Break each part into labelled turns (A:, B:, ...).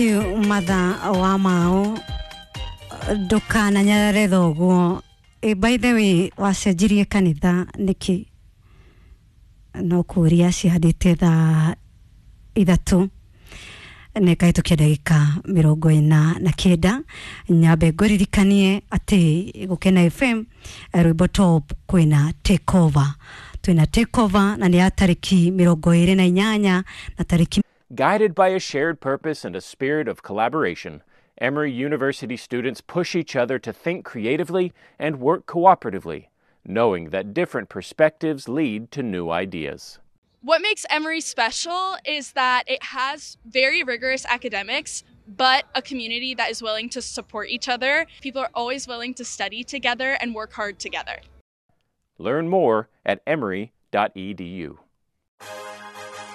A: Matha wa mao ndukananyarare thoguo. By the way, wacenjirie kanitha niki? No kuria cihandĩte thaa 3 nĩ kahĩtũkia ndagĩka 49. Nyambe ngũririkanie atĩ Gũkena FM rwĩmbo top kwĩna takeover, twĩna takeover na nĩ ya tarĩki 28 na tarĩki.
B: Guided by a shared purpose and a spirit of collaboration, Emory University students push each other to think creatively and work cooperatively, knowing that different perspectives lead to new ideas.
C: What makes Emory special is that it has very rigorous academics, but a community that is willing to support each other. People are always willing to study together and work hard together.
B: Learn more at emory.edu.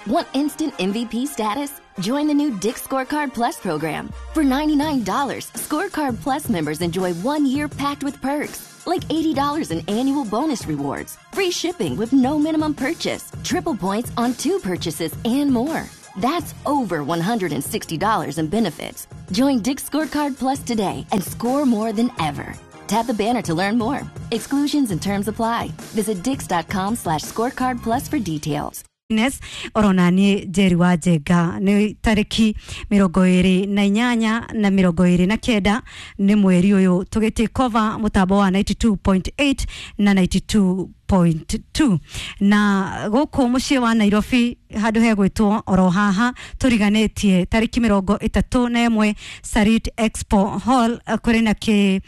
D: Want instant MVP status? Join the new Dick's Scorecard Plus program. For $99, Scorecard Plus members enjoy 1 year packed with perks, like $80 in annual bonus rewards, free shipping with no minimum purchase, triple points on two purchases, and more. That's over $160 in benefits. Join Dick's Scorecard Plus today and score more than ever. Tap the banner to learn more. Exclusions and terms apply. Visit dicks.com/scorecard plus for details.
A: Nes orona niĩ Njeri wa Njenga nĩ tarĩki 28 na 29 nĩ mweri ũyũ tũgĩtĩ cover mũtambo wa 92.8 na 92.2 na gũkũ mũciĩ wa Nairobi handũ hegwĩtwo oro haha tũriganĩtie tarĩki 31 Sarit Expo Hall, kũrĩ na kĩ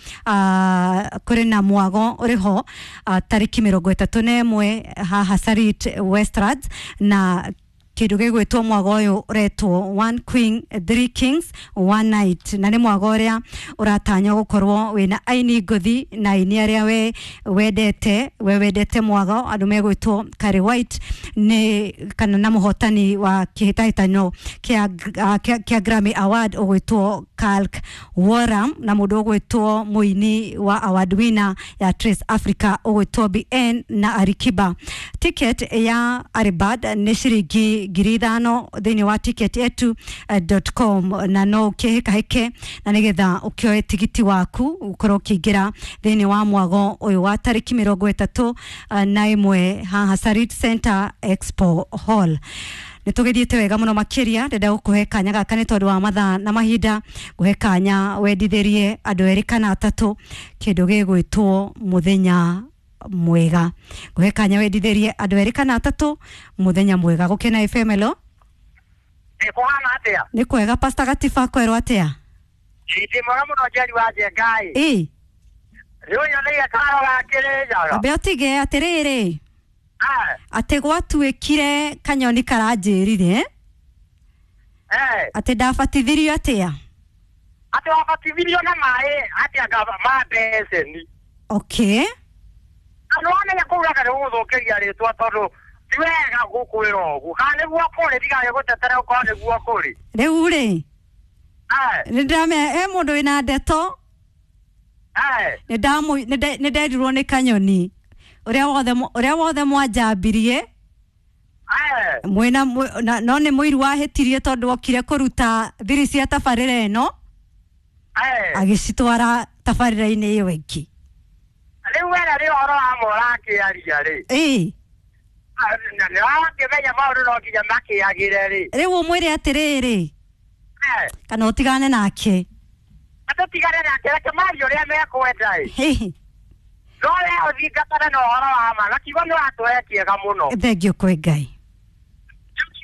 A: kũrĩ na mwago ũrĩ ho tarĩki 31 haha Sarit Westlands, na kindu gigwitwo mwago uyu uretwo One Queen, Three Kings, One Night, na ni mwago uria uratanywo gukorwo wina aini ngũthi na aini aria we wendete, we wendete mwago andu megwitwo Kari White ni kana na muhotani wa kihitahitano kia Grammy Award ugwitwo Kalk Woram na mundu ugwitwo muini wa award winner ya Trace Africa ugwitwo BN na Alikiba. Ticket ya Aribad ni ciringi 5,000 thĩinĩ wa ticket yetu.com na no ũkĩhĩkahĩke na nĩgetha ũkĩoe tigiti waku ũkorwo ũkĩingĩra thĩinĩ wa mwago ũyũ wa tarĩki 31 haha Sarit Center Expo Hall. Nä tå gä thiä te wega må no makä ndenda gå kå he kanya gaka nä tondå wa mathaa na mahinda ngũhe kanya wendithä rie andå erä kana atatå kä ndå gä gwä two mũthenya mwega. Ngũhe kanya wendithä rie andå erä kana atatå mũthenya mwega. Gũkena FM, hello.
E: Nĩ kũhana atĩa?
A: Nĩ kwega, Pastor Gatiba, kwerwo atĩa?
E: Ndĩ mwega mũno, Njeri wa Njengai.
A: Ĩ.
E: Rĩu nyoneire karo ga Kĩrĩnyaga.
A: Ambe ũtige atĩrĩrĩ, atĩ gwatuĩkire kanyoni karanjĩrire atĩ ndabatithirio atĩa?
E: Atĩ wabatithirio na maĩ atĩ anga ma mbeceni.
A: Okay.
E: Na nĩwamenya kũu raka nĩ gũgũthũkĩria rĩtwa tondũ ti wega gũkwĩra ũguo. Kana nĩguo kũrĩ ndigage gũtetera ũkorwo nĩguo kũrĩ.
A: Rĩu rĩ, nĩ ndĩramenya he mũndũ wĩna ndeto. Nĩ nderirwo nĩ kanyoni ũrĩa wothe mwanjambirie mwĩna no nĩ mũiru wahĩtirie tondũ okire kũruta thiri cia tabarĩra ĩno agĩcitwara tabarĩra-inĩ ĩyo ĩngĩ.
E: Rĩu wena nĩ ũhoro wa ma ũrakĩaria rĩ.
A: Ĩĩ.
E: Nĩ wakĩmenya maũndũ no nginya makĩagĩre rĩ.
A: Rĩu ũmwĩre atĩrĩrĩ, kana ũtigane nake.
E: Tũtigane nake, reke marie ũrĩa mekwenda ĩ. No we ũthingatane na ũhoro wa ma na kiugo nĩ watũhe kĩega mũno.
A: Thengio kwĩ Ngai.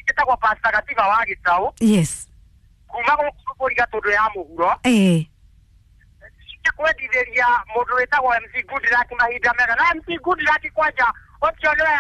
E: Njĩtagwo Pastor Gatiba wa Gĩtaũ.
A: Yes.
E: Kuma gũkũ bũrũri Gatũndũ ya mũhuro.
A: Ĩĩ.
E: Kwendithĩria mũndũ wĩtagwo MC Goodluck mahinda mega na MC Goodluck kwanja ũcio nĩwe.